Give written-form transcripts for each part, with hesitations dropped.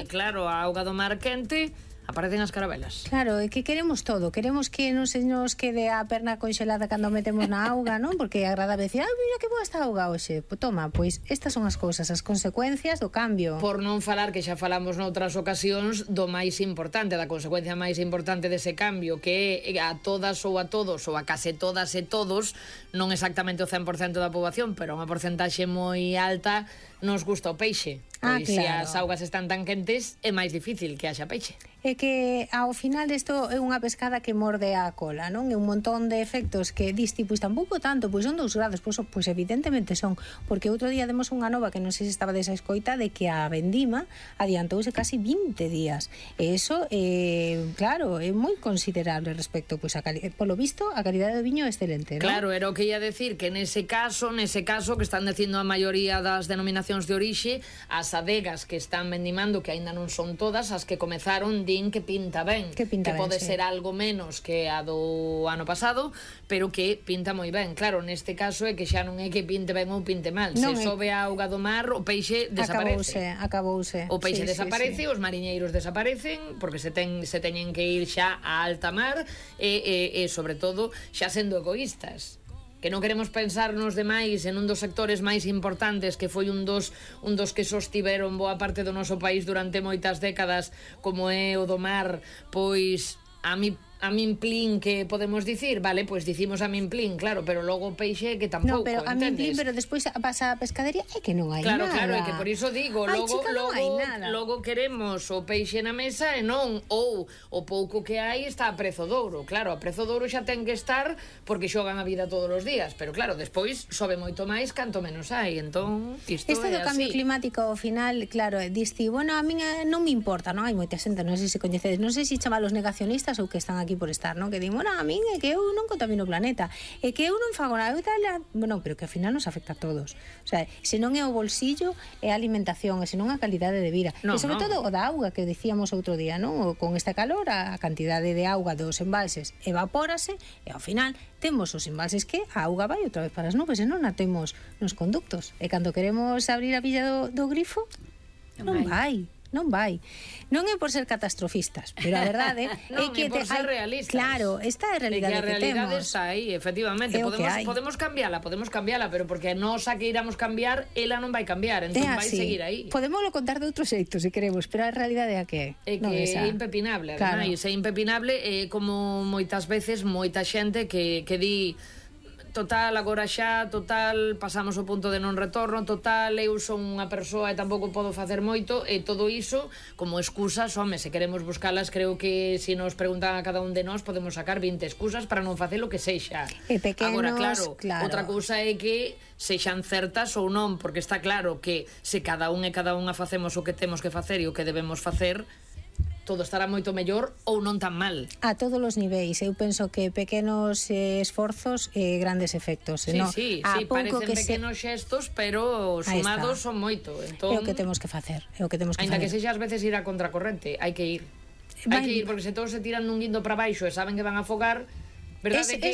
Claro, a auga do mar quente, aparecen as carabelas. Claro, é que queremos todo. Queremos que non se nos quede a perna conxelada cando metemos na auga, non? Porque é agradable decir, mira que boa esta auga hoxe. Pois toma, pois estas son as cousas, as consecuencias do cambio. Por non falar, que xa falamos noutras ocasións, do máis importante, da consecuencia máis importante dese cambio, que é a todas ou a todos, ou a case todas e todos, non exactamente o 100% da poboación, pero unha porcentaxe moi alta, nos gusta o peixe. Pois se as augas están tan quentes, é máis difícil que haxa peixe. É que ao final isto é unha pescada que morde a cola, non? É un montón de efectos que diste, pois tampouco tanto, pois son 2 grados, pois evidentemente son, porque outro día demos unha nova que non sei se estaba desa escoita de que a vendima adiantouse casi 20 días. E iso, claro, é moi considerable respecto, pois polo visto, a calidade do viño é excelente, non? Claro, era o que ia decir, que nese caso que están dicindo a maioría das denominacións de orixe, as adegas que están vendimando, que aínda non son todas, as que comezaron din que pinta ben, que pode ser algo menos que a do ano pasado, pero que pinta moi ben. Claro, neste caso é que xa non é que pinte ben ou pinte mal, se sobe a auga do mar, o peixe desaparece. Acabouse. O peixe desaparece, os mariñeiros desaparecen, porque se teñen que ir xa a alta mar, e sobre todo, xa sendo egoístas, que non queremos pensar nos demais en un dos sectores máis importantes, que foi un dos que sostiveron boa parte do noso país durante moitas décadas, como é o do mar. Pois a min plín, que podemos dicir, vale, pois dicimos a min plín, claro, pero logo o peixe que tampouco, pero a min plín, pero despois pasa a pescadería e que non hai nada. Claro, é que por iso digo, logo queremos o peixe na mesa e non, ou o pouco que hai está a prezo de ouro. Claro, a prezo de ouro xa ten que estar porque xogan a vida todos os días, pero claro, despois sobe moito máis canto menos hai. Entón, isto do cambio climático ao final, claro, diste, bueno, a min non me importa, non? Hai moita xente, non sei se coñecedes, non sei se chamalos negacionistas ou que están aquí por estar, non? Que din, bueno, a min é que eu non contamino o planeta, é que eu non fago nada, bueno, pero que ao final nos afecta a todos. O sea, se non é o bolsillo, é a alimentación, e se non a calidade de vida. E sobre todo o da auga, que decíamos outro día, non? Con este calor, a cantidade de auga dos embalses evapórase, e ao final temos os embalses que a auga vai outra vez para as nubes, e non a temos nos conductos. E cando queremos abrir a billa do grifo, non vai. Non é por ser catastrofistas, pero a verdade é que por ser realistas. Claro, esta é a realidade que temos. A realidade está aí, efectivamente. Podemos cambiala, pero porque nós a que iramos cambiar, ela non vai cambiar, entón vai seguir aí. Podémoslo contar de outro xeito, se queremos, pero a realidade é que é impepinable, ademais, é impepinable, como moitas veces moita xente que di total, agora xa, total, pasamos o punto de non retorno, total, eu son unha persoa e tampouco podo facer moito, e todo iso como excusas, home, se queremos buscalas, creo que se nos preguntan a cada un de nós podemos sacar 20 excusas para non facer o que sexa. E pequenos, agora, claro, outra cousa é que sexan certas ou non, porque está claro que se cada un e cada unha facemos o que temos que facer e o que debemos facer, todo estará moito mellor ou non tan mal. A todos os niveis. Eu penso que pequenos esforzos e grandes efectos. Sí, parecen pequenos xestos, pero sumados son moito. Entón, é o que temos que facer. Ainda que sexa ás veces ir a contracorrente, hai que ir. Hai que ir, porque se todos se tiran nun guindo para baixo e saben que van a afogar, verdade que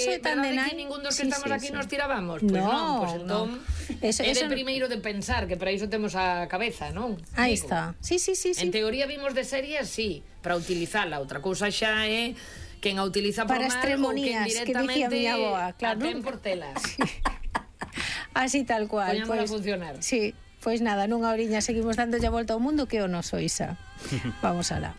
ningún dos que estamos aquí nos tirábamos? Pois non, pois entón é de primeiro de pensar, que para iso temos a cabeza, non? Aí está. Sí. En teoría vimos de series, sí, para utilizala. Outra cousa xa é quen a utiliza por mal ou quen directamente a ten por telas. Así tal cual. Poñámola a funcionar. Sí, pois nada, nunha oriña seguimos dándolle a volta ao mundo, que o noso Isa. Vamos alá.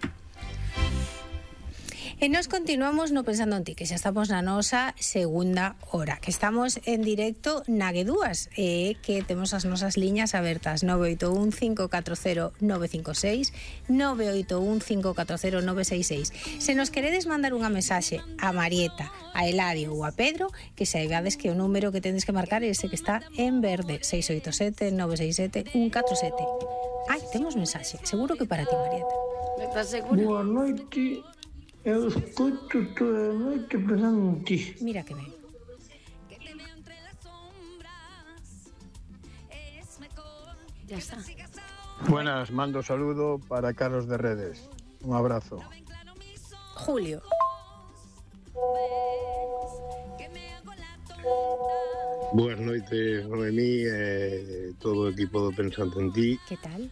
E nos continuamos no Pensando en Ti, que xa estamos na nosa segunda hora, que estamos en directo na Guedúas, que temos as nosas liñas abertas 981-540-956, 981-540-966. Se nos queredes mandar unha mensaxe a Marieta, a Eladio ou a Pedro, que saibades que o número que tendes que marcar é ese que está en verde, 687-967-147. Ai, temos mensaxe, seguro que para ti, Marieta. Estás segura? Boa noite. Eu escuto toda a noite pensando en ti. Mira que ben. Ya está. Buenas, mando saludo para Carlos de Redes. Un abrazo. Julio. Boas noites, Noemí, todo o equipo do Pensando en Ti. Que tal?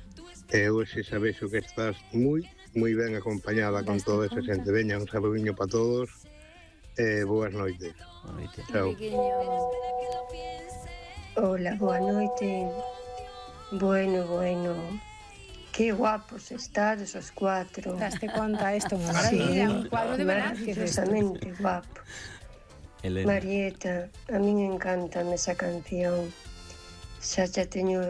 Eu se sabes que estás moi ben acompañada con toda esa xente. Veña, un saludiño para todos e boas noites. Chao. Hola, boa noite. Bueno, que guapos estades os 4. Daste conta isto, unha maravilla, un cuadro de Velázquez. Maravillosamente guapos. Marieta, a min encantame esa canción. Xa teño